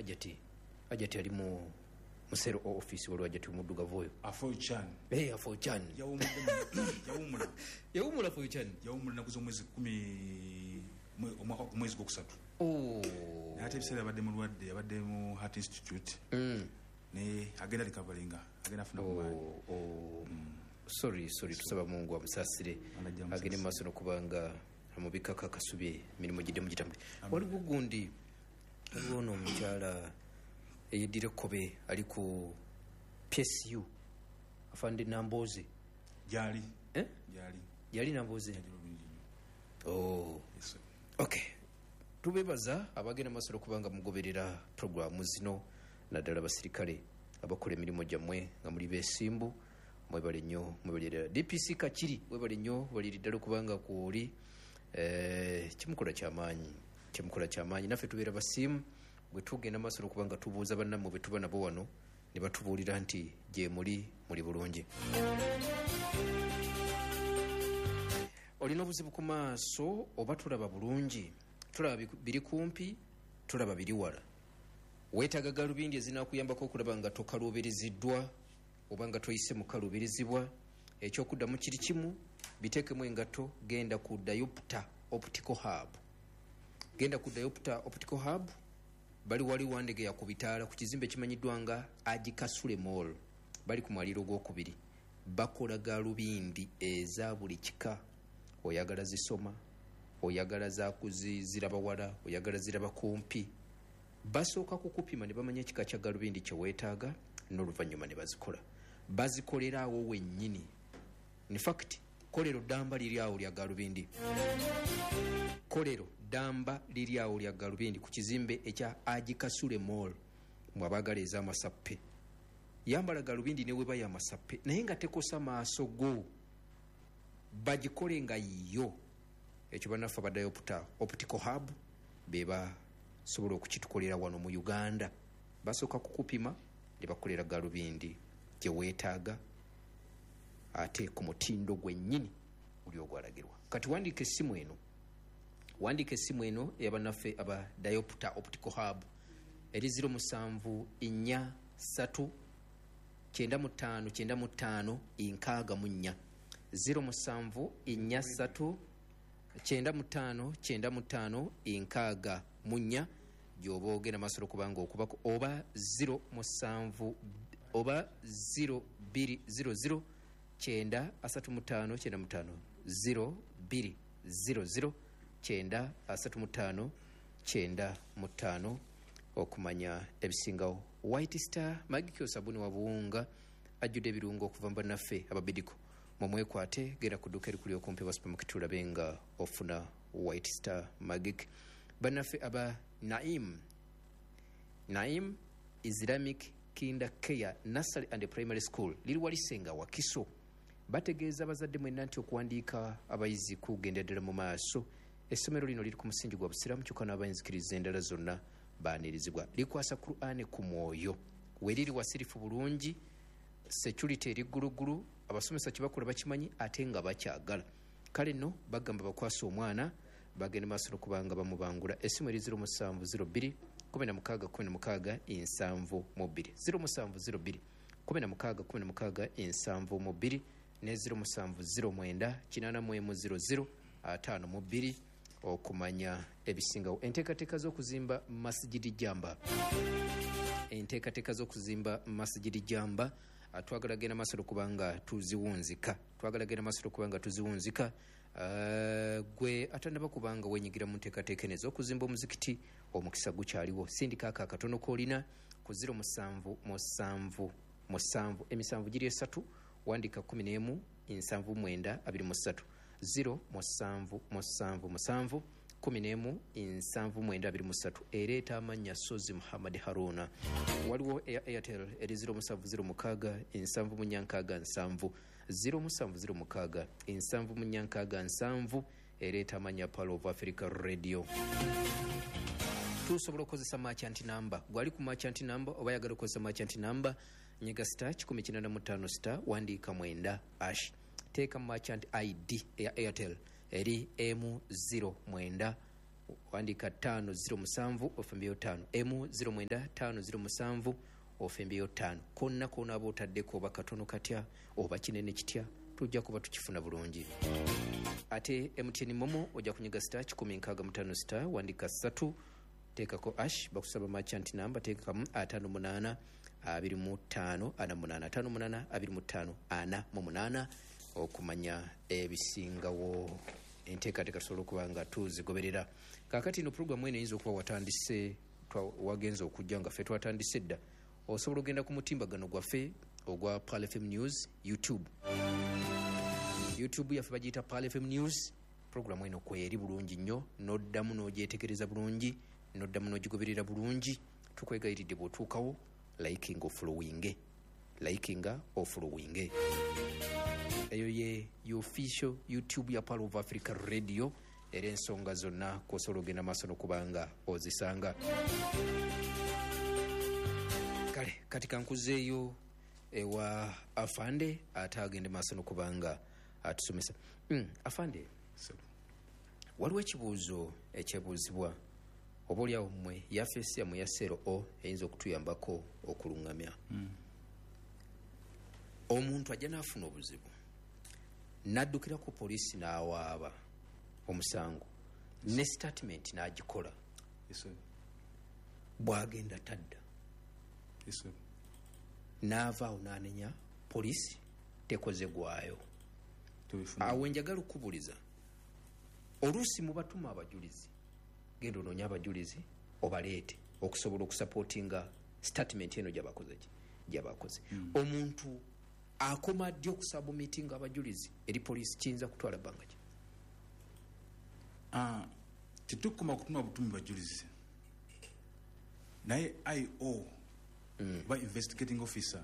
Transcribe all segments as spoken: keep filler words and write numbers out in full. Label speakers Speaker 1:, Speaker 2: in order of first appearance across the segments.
Speaker 1: Hajati Hajati ali mu musero office, waliwo Hajati omuddugavu oyo.
Speaker 2: Afoichan.
Speaker 1: Hey, Afoichan.
Speaker 2: Yawumula.
Speaker 1: Yawumula Afoichan.
Speaker 2: Yawumula naku z'omwezi kumi omwaka omwezi gwokusatu.
Speaker 1: Oh.
Speaker 2: Naye ate ebiseera abadde mulwadde, abadde mu Heart Institute.
Speaker 1: Mm.
Speaker 2: Naye agenda recoveringa, agenda afuna ku maanyi.
Speaker 1: Oh, oh. Mm. Sorry, sorry, tusaba Mungu amusaasire. Agende mu maaso n'okubanga amubikako akasubi, emirimu giddemu gitambule. Waliwo gundi, waliwo ono omukyala eyeddira ekkobe ali ku P S U, afande Namboze.
Speaker 2: Gyali.
Speaker 1: Eh?
Speaker 2: Gyali.
Speaker 1: Gyali Namboze.
Speaker 2: Gyali bulungi nnyo.
Speaker 1: Oh.
Speaker 2: Yes, sir.
Speaker 1: Okay. Tubebaza abagenda maaso okubanga mugoberera programu zino, naddala abasirikale abakola emirimu gyammwe nga muli beesimbu. Mwebale nnyo, mwebale ddala. D P C Kakiri, mwebale nnyo, mwebale ddala okubanga kw'oli. Eh, kimukola kyamaanyi, kimukola kyamaanyi. Naffe tubeera basiimu bwe tugenda maaso okubanga tubuuza bannammwe bwe tuba nabo wano ne batubuulira nti gye muli muli bulungi. Olina obuzibu ku maaso oba tulaba bulungi, tulaba biri kumpi, tulaba biri wala. Weetaaga galubindi ezinaakuyambako okulaba nga tokaluubiriziddwa oba nga toyise mu kaluubirizibwa. Ekyokuddamu kiri kimu, biteekemu engatto, genda ku Diopter Optical Hub. Genda ku Diopter Optical Hub, bali wali Wandegeya ku bitaala ku kizimbe ekimanyiddwa nga Agikasule Mall, bali ku mwaliiro ogwokubiri. Bakola galubindi eza buli kika. Oyagala zisoma, oyagala zakuziraba wala, oyagala ziraba kumpi. Basooka kukupima ne bamanya ekika kya galubindi kye weetaaga, n'oluvannyuma ne bazikola. Bazikolera awo wennyini. In fact, kolero ddamba liri awo lya galubindi. Kolero ddamba liri awo lya galubindi ku kizimbe ekya Agikasule Mall. Mwe abaagala ez'amasappe, yambala galubindi ne weba y'amasappe, naye nga tekosa maaso go, bagikole nga yo. Ekyo bannaffe aba Diopter Optical Hub be basobola okukitukolera wano mu Uganda. Basooka kukupima ne bakolera galubindi gye weetaaga ate ku mutindo gwennyini guli ogwalagirwa. Kati wandiika essimu eno, wandiika essimu eno ey'abannaffe aba Diopter Optical Hub eri ziro musanvu nnya ssatu kyenda mu ttaano kyenda mu ttaano nkaaga mu nnya. Ziro musanvu nnya ssatu kyenda mu ttaano kyenda mu ttaano nkaaga mu nnya gy'oba ogenda maaso okubanga okubako, oba ziro musanvu oba ziro bbiri ziro ziro kyenda asatu mu ttaano kyenda mu ttaano ziro bbiri ziro ziro kyenda asatu mu ttaano kyenda mu ttaano okumanya ebisingawo. White Star Magic sabuni wa buwunga ajjudde ebirungo okuva mu bannaffe ababidiko. Mumwekwate, genda ku dduuka erikuli okumpi wa supermarket olabe nga ofuna White Star Magic. Bannaffe aba Naim, Naim Islamic Kinder Care Nursery and Primary School liri Walisenga Wakiso, bategeeza abazadde mwenna nti okuwandiika abayizi kugenda ddala mu maaso. Essomero lino liri ku musingi gwa busiraamu, kyokka n'abayinzikiriza endala zonna baanirizibwa. Likwasa Kur'ani ku mwoyo, we liri wasirifu bulungi, security eri ggulugulu, abasomesa kye bakola bakimanyi ate nga bakyagala. Kale nno bagamba bakwasa omwana bagende maaso n'okubanga bamubangula. Essimu eri ziro musanvu ziro bbiri kumi na mukaaga kumi na mukaaga ensanvu mu bbiri, ziro musanvu ziro bbiri kumi na mukaaga kumi na mukaaga ensanvu mu bbiri ne ziro musanvu ziro mwenda kinaana mu emu ziro ziro ataano mu bbiri okumanya ebisingawo. Enteekateeka z'okuzimba Masjidi Jamba, enteekateeka z'okuzimba Masjidi Jamba twagala genda maaso okubanga tuziwunzika, twagala genda maaso okubanga tuziwunzika. Uh, gwe atannaba kubanga wenyigira mu nteekateeka eno ez'okuzimba omuzikiti, omukisa gukyaliwo. Sindika ako akatono k'olina ku ziro musanvu musanvu musanvu emisanvu giri esatu, wandika kumi n'emu ensanvu mwenda abiri mu ssatu, ziro musanvu musanvu musanvu kumi n'emu ensanvu mwenda abiri mu ssatu. Ereeta amannya Sozi Muhammad Haruna. Waliwo eya Airtel eri ziro musanvu ziro mukaaga ensanvu mu nnya nkaaga nsanvu, ziro musanvu ziro mukaaga ensanvu mu nnya nkaaga nsanvu. Ereeta amannya Pearl of Africa Radio. Tusobola okukozesa merchant number. Gwali ku merchant number oba ayagala okukozesa merchant number, nyiga star kikumi kinaana mu ttaano star wandiika mwenda ash, teeka merchant I D eya Airtel eri emu ziro mwenda Wandika tano zero musanvu ofembeyo tano emu zero mwenda tano zero musanvu ofembeyo tano. Konna kona abo otaddeko oba katono katya oba kinene kitya, tujja kuba tukifuna bulungi. Ate M T N Momo ojja kunyiga star kikumi nkaaga mu ttaano star wandika ssatu teekako ash, bakusaba merchant number teekamu ataano munaana abiri mu ttaano ana munaana ataano munaana abiri mu ttaano ana mu munaana okumanya ebisingawo. Enteekateeka tusobola okuba nga tuzigoberera. Kaakati ino puroguramu eno eyinza okuba watandise, wagenze okujja nga ffe twatandise dda. Osobola ogenda ku mutimbagano gwaffe ogwa Pearl F M News YouTube. YouTube yaffe bagiyita Pearl F M News. Puroguramu eno kweri bulungi nnyo, n'oddamu n'ogyetegereza bulungi, n'oddamu n'ogigoberera bulungi. Tukwegayiridde bw'otuukawo liking ofollowinge, likinga ofollowinge. Eyo ye official YouTube ya Pearl of Africa Radio, era ensonga zonna kw'osobola ogenda maaso n'okubanga ozisanga. Kale kati kankuzeeyo ewa Afande ate agende maaso n'okubanga atusomesa. Mm, Afande, waliwo ekibuuzo ekyebuuzibwa oba oliawo mmwe yafeesi yammwe ya seero o eyinza okutuyambako okuluŋŋamya. Mm. Omuntu ajja n'afuna obuzibu n'addukira ku poliisi n'awaaba omusango ne statement n'agikola.
Speaker 2: Yes,
Speaker 1: bw'agenda tadda.
Speaker 2: Yes,
Speaker 1: n'ava awo n'anenya poliisi tekoze gwayo. Awo njagala okubuuliza, oluusi mubatuma abajulizi, genda onoonye abajulizi obaleete okusobola okusupportinga statement eno gy'abakoze gy'abakoze. Mm. Omuntu akoma ddi okusubmitinga abajulizi eri poliisi kiyinza kutwala bbanga ki?
Speaker 2: Ah, tetukoma kutuma butumi bajulizi, naye I O mm. ba investigating officer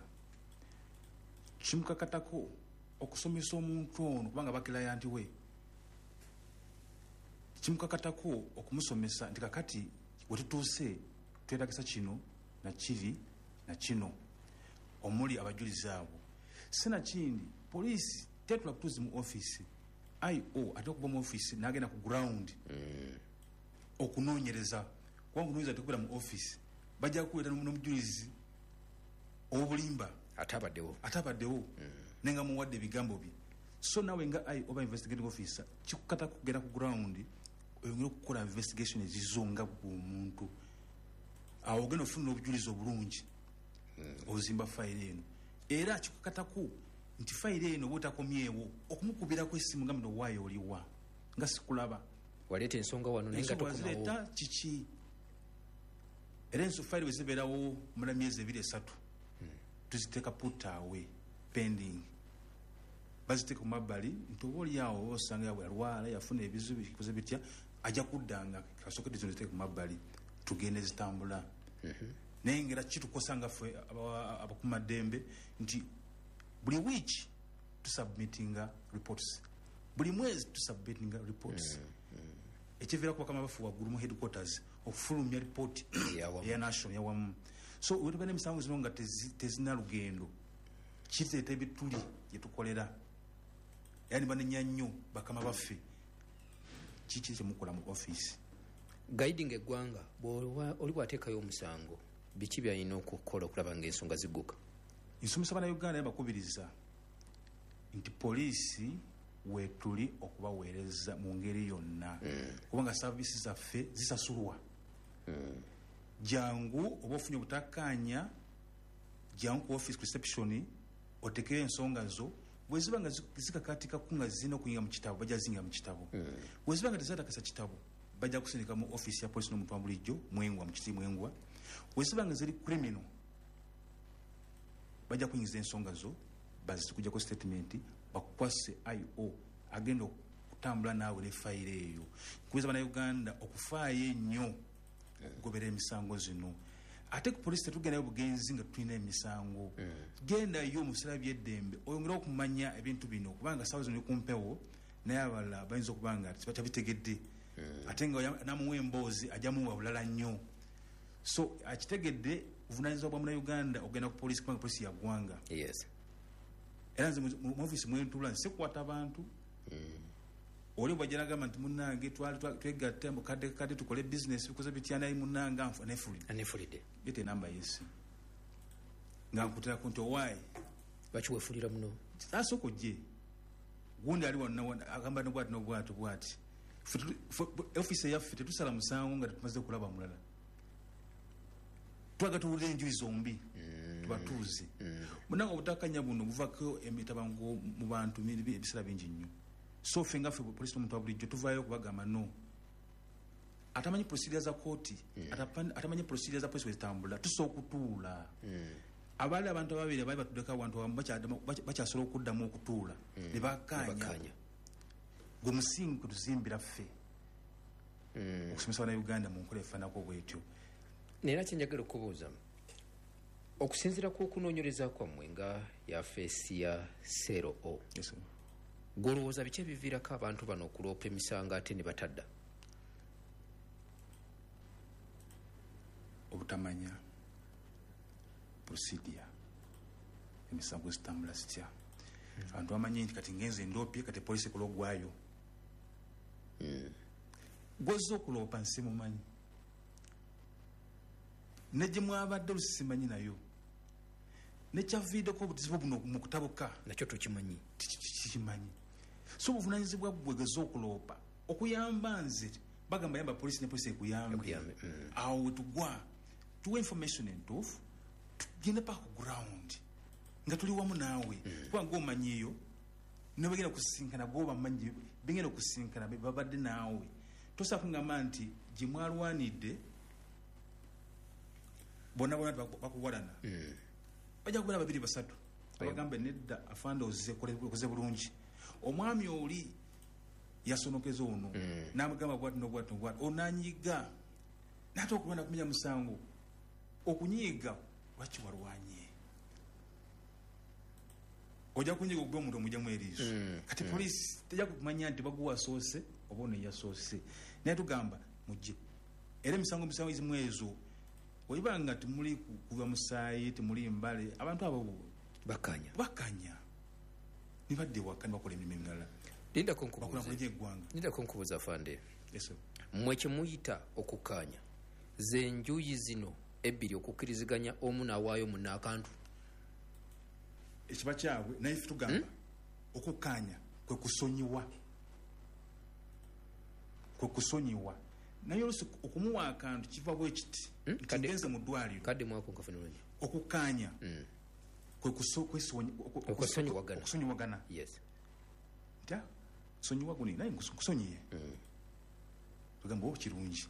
Speaker 2: kimukakatako okusomesa omuntu ono kubanga bakirayanti we, kimukakatako okumusomesa nti kakati wetutuuse twetagisa kino na kiri na kino omuli abajulizi abo. Sinakindi poliisi tetula kutuzi mu office, I O ate okuva mu office n'agenda ku ground mm. okunoonyereza, kubanga okunoonyereza tekubeera mu office, bajja kuleeta n'omujulizi ow'obulimba
Speaker 1: atabaddewo
Speaker 2: atabaddewo mm. nenga muwadde ebigambo bye. So nawe nga I O oba investigating officer kikukata kugenda ku ground oyongere okukola investigation ezizo nga bw'omuntu, awo ogenda ofuna obujulizi obulungi mm. ozimba fayiro eno. Era kikukatako nti fayiro eno bw'otakomyewo okumukubirako essimu nga mno waayo oliwa nga sikulaba,
Speaker 1: waleeta ensonga wano naye nga tokomawo
Speaker 2: kiki. Era enso fayiro bwe zibeerawo mula myezi ebiri esatu hmm. tuziteeka put away pending, baziteeka ku mabbali nti oba oliawo osanga yabwe yalwala yafuna ebizibu bikoze bitya, ajja kuddanga kasooke zino ziteeke ku mabbali tugende zitambula. Mm-hmm. Naye ngera kitukosa nga ffe abakuumaddembe nti buli wiiki tusubmitinga reports, buli mwezi tusubmitinga reports. Mm-hmm. Ekiviirako bakama baffe waggulu mu headquarters okufulumya ripooti eya national yawamu. So wetuba n'emisango zino nga tezina lugendo, kireeta ebituli gye tukolera, era ne banenya nnyo bakama baffe kiki kyemukola mu office.
Speaker 1: Guiding eggwanga, oli bw'ateekayo omusango biki by'alina okukola okulaba ng'ensonga zigguka?
Speaker 2: Nsomesa Bannayuganda bakubiriza nti poliisi weetuli okubaweereza mu ngeri yonna, mm. kubanga saavisi zaffe zisasulwa. Mm. Jangu oba ofunye obutakkaanya, jangu ku office reception otekeyo ensonga zo, bwe ziba nga zikakaatikako nga zirina okuyingira mu kitabo bajja zingira mu kitabo. Mm. Bwe ziba nga tezatakasa kitabo bajja kusindika mu office ya poliisi n'omuntu wa bulijjo Mwengwa mu kiti Mwengwa. Bwe ziba nga ziri criminal bajja kuyingiza ensonga zo, bazikujjako statement, bakukwase I O agenda okutambula naawe ne fayiro eyo. Nkubiriza Bannayuganda okufaayo ennyo okugobera emisango zino. Ate ku poliisi tetugendayo bugenzi nga tulina emisango. Gendayo mu biseera by'eddembe oyongere okumanya ebintu bino, kubanga ssaawa zino ku mpewo naye abalala bayinza okuba nga tebabitegedde, ate nga namuwa emboozi ajja muwa bulala nnyo. So akitegedde buvunaanyizibwa bwa Munnayuganda okugenda ku poliisi kubanga poliisi ya ggwanga.
Speaker 1: Yes.
Speaker 2: Era nze mu ofiisi mwe ntuula nsikwata abantu, Oli bwajja n'agamba nti munnange twali twegatta mu kadde kadde tukole bizinesi bikoze bitya, naye munnange anfu anefulidde.
Speaker 1: Anefulidde.
Speaker 2: Leeta enamba y'essimu. Nga nkuteerako nti owaaye.
Speaker 1: Lwaki weefulira muno?
Speaker 2: Asooka ojje. Gundi ali wano agamba ne bw'ati n'obwati bw'ati. Ofiisi eyaffe tetusala musango nga tetumaze kulaba mulala. Twagala tuwulire enjuyi zombi. Tubatuuze. Munnange obutakkaanya buno buvaako emitabanguko mu bantu ebiseera bingi nnyo. So ffe nga ffe poliisi n'omuntu wa bulijjo tuvaayo okubagamba no. Atamanyi procedure za kooti, atamanyi procedure za poliisi bwe zitambula, tusobola okutuula. Abaali abantu ababiri abaali batuddeko awantu awamu bakyasobola okuddamu okutuula. Ne bakkaanya. Gwe musingi kwe tuzimbira ffe. Okusomesa Bannayuganda mu nkola efaananako bw'etyo.
Speaker 1: Naye era kye njagala okubuuza, okusinziira ku okunoonyereza kwammwe nga yafeesi ya Seero O, gw'olowooza biki ebiviirako abantu bano okuloopa emisango ate ne batadda?
Speaker 2: Obutamanya procedure, emisango zitambula zitya. Abantu bamanyi nti kati ngenze ndoopye, kati poliisi ekola ogwayo. Gw'ozze okuloopa nsimumanyi. Ne gye mwabadde olusimanyi nayo. Nekyaviiddeko obuzibu buno mu kutabuka.
Speaker 1: Nakyo tokimanyi.
Speaker 2: Kikimanyi. So obuvunaanyizibwa bwe gw'ozze okuloopa okuyamba nze bagamba yamba poliisi ne poliisi ekuyambe. Awo we tugwa tuwa information entuufu, tugende paka ku ground nga tuli wamu naawe. Kuba ng'omanyiiyo ne bagenda kusisinkana gw'obamanyi bagenda okusisinkana babadde naawe. Tosobola kungamba nti gye mwalwanidde bonna bonna bakuwalana. Bajja kubeera babiri basatu abagambe nedda afande ozze okoze bulungi. Omwami oli yasonokeza ono n'amugamba bw'ati n'obwati n'obwati, onanyiga n'ate okulwana kumenya musango. Okunyiiga lwaki walwanye? Ojja kunyiiga okuba omuntu omugyamu eriiso. Kati poliisi tejja kumanya nti baguwa asoose oba ono eyasoose. Naye tugamba mujje. Era emisango emisango ezimu ezo bw'eba nga temuli kuva musaayi, temuli mbale, abantu abo
Speaker 1: bakkaanya.
Speaker 2: Bakkaanya. Ne badda ewaka ne bakola emirimu emirala.
Speaker 1: Lindako nkubuuze. Lindako nkubuuze afande.
Speaker 2: Yes sir.
Speaker 1: Mmwe kye muyita okukkaanya, ze njuyi zino ebbiri okukkiriziganya omu n'awaayo munne akantu.
Speaker 2: Ekiba kyabwe naye ffe tugamba okukkaanya kwe kusonyiwa. Kwe kusonyiwa. Naye oluusi okumuwa akantu kiva bwe kiti. Nti ngenze mu ddwaliro.
Speaker 1: Kadde mwako nkafuna bulungi.
Speaker 2: Okukkaanya kwe
Speaker 1: okusonyiwagana.
Speaker 2: Okusonyiwagana.
Speaker 1: Yes.
Speaker 2: Nti sonyiwa guni naye nkusonyiye. Tugamba oh kirungi.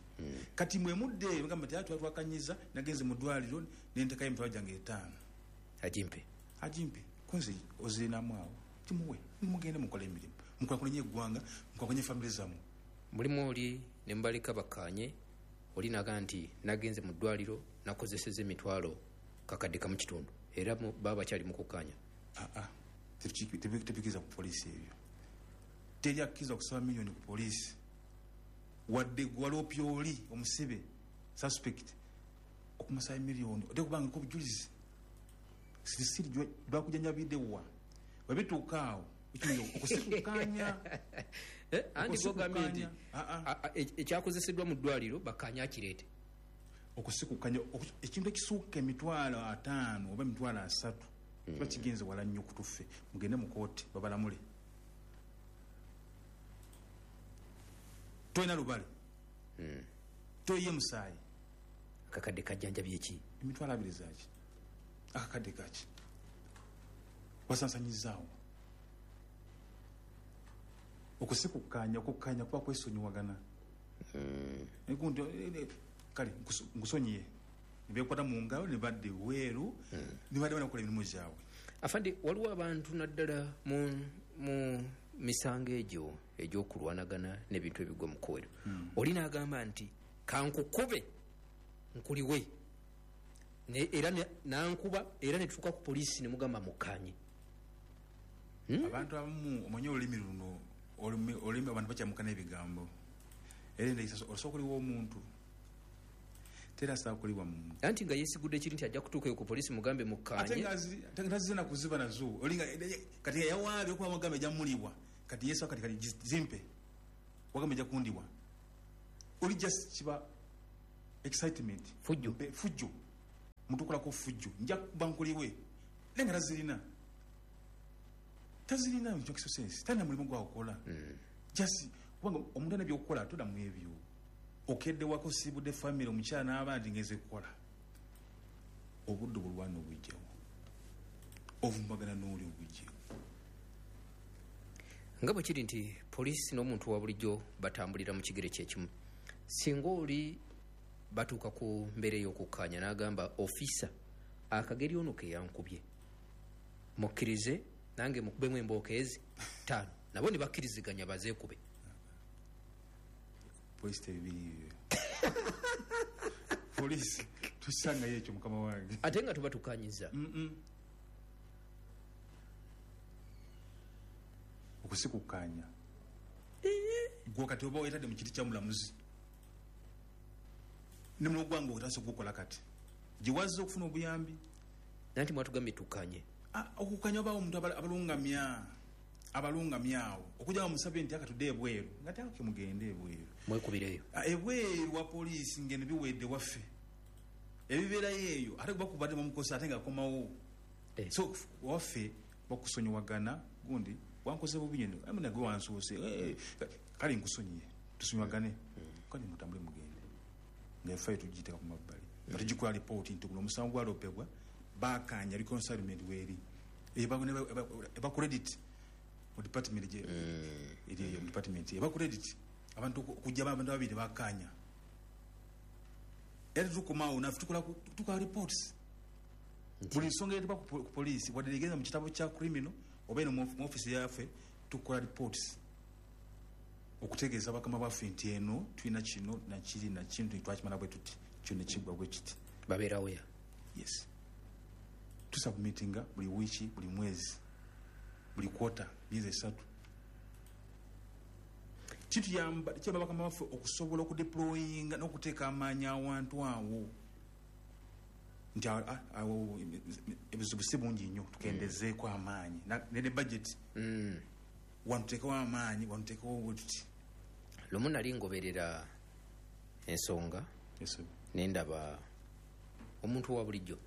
Speaker 2: Kati mwe mudde bagamba nti ati twakanyiza nagenze mu ddwaliro ne ntekayo emitwalo gyange etaano.
Speaker 1: Agimpe.
Speaker 2: Agimpe. Kunze ozirinamu awo. Timuwe. Mugende mukole emirimu. Mukulakulanye eggwanga, mukulakulanye famire zammwe.
Speaker 1: Mulimu oli ne mbaleka bakkaanye, oli n'agamba nti nagenze mu ddwaliro nakozesezza emitwalo kakadde kamu kitundu. Era baba bakyali mu kukkaanya.
Speaker 2: Aa, tebikkiriza ku poliisi ebyo. Teri akkiriza kusaba miliyoni ku poliisi. Wadde gwaloopye oli omusibe suspect okumusaba miliyoni ate kubanga obujulizi sirisiri bakujanjabidde wa bwe bituuka awo okusikukkaanya.
Speaker 1: Anti gw'ogambye nti ekyakozeseddwa mu ddwaliro bakkaanya akireete.
Speaker 2: Okusikukkaanya ekintu ekisukka emitwalo ataano oba emitwalo asatu kiba kigenze wala nnyo kutuffe. Mugende mu kooti babalamule. Tolina lubale. Toyiye musaayi.
Speaker 1: Akakadde kajjanjabye ki?
Speaker 2: Emitwalo abiri zaaki? Akakadde kaki? Wasansanyizaawo. Okusikukkaanya, okukkaanya kuba kwesonyiwagana. Kale nkusonyiye. Ne beekwata mu ngalo ne badda ebweru ne badda banakola emirimu gyabwe.
Speaker 1: Afande, waliwo abantu naddala mu mu misango egyo egy'okulwanagana n'ebintu ebigwa mu kkoero. Oli n'agamba nti kankukube nkuliwe. Era nankuba era ne tutuuka ku poliisi ne mugamba mukkaanye.
Speaker 2: Abantu abamu omanyi olulimi luno olulimi abantu bakyamuka n'ebigambo. Era osobola okuliwa omuntu tera asobola kuliwa muntu.
Speaker 1: Anti nga yeesigudde kiri nti ajja kutuukayo ku poliisi mugambe mukkaanye.
Speaker 2: Ate nga tazze na kuziba nazo. Olinga kati yawaabye okuba mugambe ajja muliwa. Kati yesu kati kati zimpe. Wagamba ejja kundiwa. Oli just kiba excitement.
Speaker 1: Fujjo.
Speaker 2: Fujjo. Mutukolako fujjo. Nja kuba nkuliwe. Naye nga tazirina. Tazirina mu kyo sense. Talina mulimu gwakukola.
Speaker 1: Mm.
Speaker 2: Just kubanga omuntu alina by'okukola toda mu ebyo. Okedde wako sibudde family omukyala n'abandi ngeze kukola. Obudde bulwana obujjawo. Ovumbagana n'oli obujjawo.
Speaker 1: Nga bwe kiri nti poliisi n'omuntu wa bulijjo batambulira mu kigere kyekimu. Singa oli batuuka ku mbeera ey'okukkaanya n'agamba ofisa akageri ono ke yankubye, mukkirize nange mukubemu embooka ezi ttaano, nabo ne bakkiriziganya bazeekube.
Speaker 2: Poliisi tebibiri. Poliisi tusangayo ekyo mukama wange.
Speaker 1: Ate nga tuba tukkanyiza.
Speaker 2: Okusikukkaanya. Gwe kati oba weetadde mu kiti kya mulamuzi. Ne mulimu gwange otandise okugukola kati. Gye wazze okufuna obuyambi.
Speaker 1: Nanti mwatugambye tukkanye.
Speaker 2: Okukkanya obaawo omuntu abalungamya. Abalungamya awo. Okujja bamusabye nti akatudde ebweru. Nga teeka mugende ebweru.
Speaker 1: Mwekubireyo.
Speaker 2: Ebweru wa poliisi ng'eno biwedde waffe. Ebibeerayo eyo ate bakubadde bamukosa ate ng'akomawo. So waffe bakusonyiwagana gundi wankoze bubi nnyo. Amina gwe wansoose. Kale nkusonyiye. Tusonyiwagane. Kale mutambule mugende. Ng'effe tugiteeka ku mabbali. Nga tugikola lipooti nti guno omusango gwalopebwa bakanya reconciliation weeri. Eba credit mu department gye eri eyo mu department eba credit abantu okujja abantu babiri bakanya. Era tukomaawo naffe tukola tukola reports. Buli nsonga etuba ku poliisi wadde egenda mu kitabo kya criminal oba eno mu office yaffe tukola reports okutegeeza bakama baffe nti eno tulina kino nakiri nakino twakimala bwe tuti kino kigwa bwe kiti.
Speaker 1: Babeerawo ya?
Speaker 2: Yes. Tusubmittinga buli wiiki, buli mwezi, buli quarter, myezi esatu. Kituyamba kiyamba bakama baffe okusobola okudeployinga n'okuteeka amaanyi awantu awo nti awo ebizibu si bungi nnyo tukendezeeko amaanyi ne budget. Wantuteekawo amaanyi, wantuteekawo bwe tuti.
Speaker 1: Lumu nali ngoberera ensonga ne ndaba omuntu wa bulijjo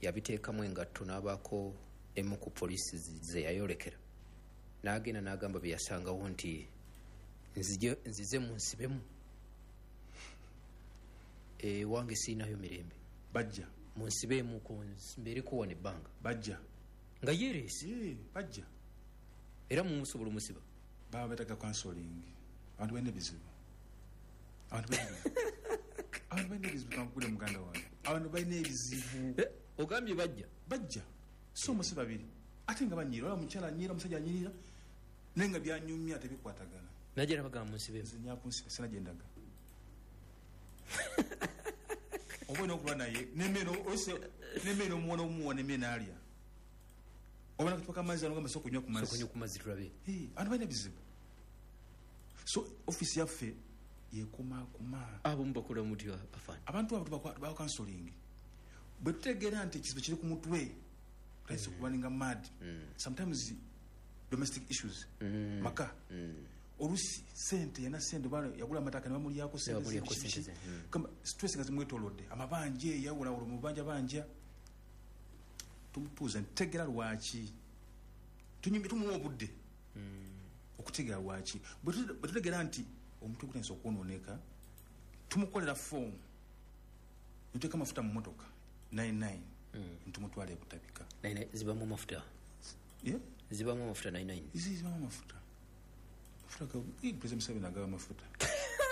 Speaker 1: yabiteekamu engatto n'abaako emu ku poliisi ze yayolekera n'agenda n'agamba bye yasangawo nti nzije nzize munsibemu ewange siinayo mirembe.
Speaker 2: Bajja
Speaker 1: munsibeemu mbeereko wano ebbanga.
Speaker 2: Bajja
Speaker 1: nga yeereese.
Speaker 2: Bajja
Speaker 1: era mumusobola omusiba.
Speaker 2: Baba beetaaga counseling. Abantu balina ebizibu. Abantu balina abantu balina ebizibu kankubule muganda wange. Abantu balina ebizibu.
Speaker 1: Ogambye bajja.
Speaker 2: Bajja. So musi babiri. Ate nga banyirira, olaba omukyala anyirira, omusajja anyirira, naye nga byanyumya tebikwatagana.
Speaker 1: Najja nabagamba munsibeemu.
Speaker 2: Nze nyakunsiba sina gye ndaga. Oba olina okuba naye n'emmere n'emmere omuwa n'omuwa n'emmere n'alya. Oba nakatupa k'amazzi ano ogamba sooka onywa ku mazzi.
Speaker 1: Sooka onywe ku mazzi tulabe.
Speaker 2: Abantu balina ebizibu. So office yaffe yekumaakuma.
Speaker 1: Abo mubakola mutya afaani?
Speaker 2: Abantu abo tubawa counseling. Bwe tutegeera nti ekizibu kiri ku mutwe, tutandise okubaninga mad. Sometimes domestic issues, maka. Oluusi sente yana sente yagula amataka ne bamulyako sente. Kamba stress nga zimwetoolodde, amabanja eyawulawula mu banja banja. Tumutuuza ntegeera lwaki. Tunyumye tumuwa obudde. Okutegeera lwaki. Bwe tutegeera nti omutwe gutandise okwonooneka, tumukolera foomu. Ne tuteeka amafuta mu mmotoka nine nine. Ntumutwala ebutabika.
Speaker 1: Nine nine zibamu amafuta.
Speaker 2: Yeah?
Speaker 1: Zibamu amafuta nine nine.
Speaker 2: Zibamu amafuta. Mafuta ga President Museveni agaba amafuta.